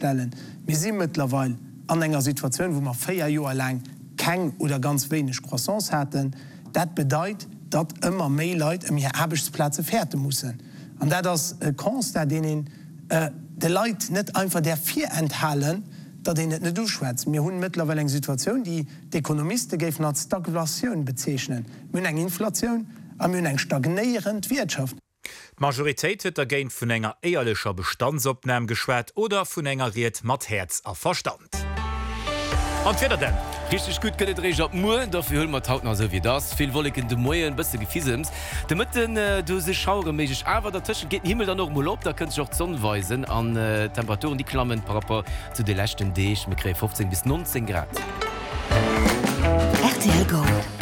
stellen. Mir si mëttlerweil an enger Situatioun, wou mer 4 Joer laang keng oder ganz wéineg Croissance haten. Dat bedeit, datt ëmmer méi Leit ëm hir Aarbechtsplaze fäerte mussen. An dat ass e Constat, deen een de Leit net einfach däerf virenthalen, datt een et net uschwätzt. Mir hunn mëttlerweil eng Situatioun, déi d'Ekonomiste géifen als Stagflatioun bezeechnen. Mir hunn eng Inflatioun a mir hunn eng stagnéierend Wiertschaft. D'Majoritéit huet dergéint vun enger éierlecher Bestandsopnam geschwat oder vun enger Ried mat Häerz a Verstand. An d'Wieder denn? Richteg gutt gëtt et eréischt ab muer, dofir huele mer et haut nach esou wéi et ass. Vill Wolleken de Moien, bësse Gefisems de Mëtten, do si Schauere méiglech, awer dertëschent geet den Himmel dann och mol op, da kënnt sech och d'Sonn weisen an d'Temperaturen déi klammen par rapport zu de leschten Deeg, mir kréie 15 bis 19 Grad. Rtl Gold.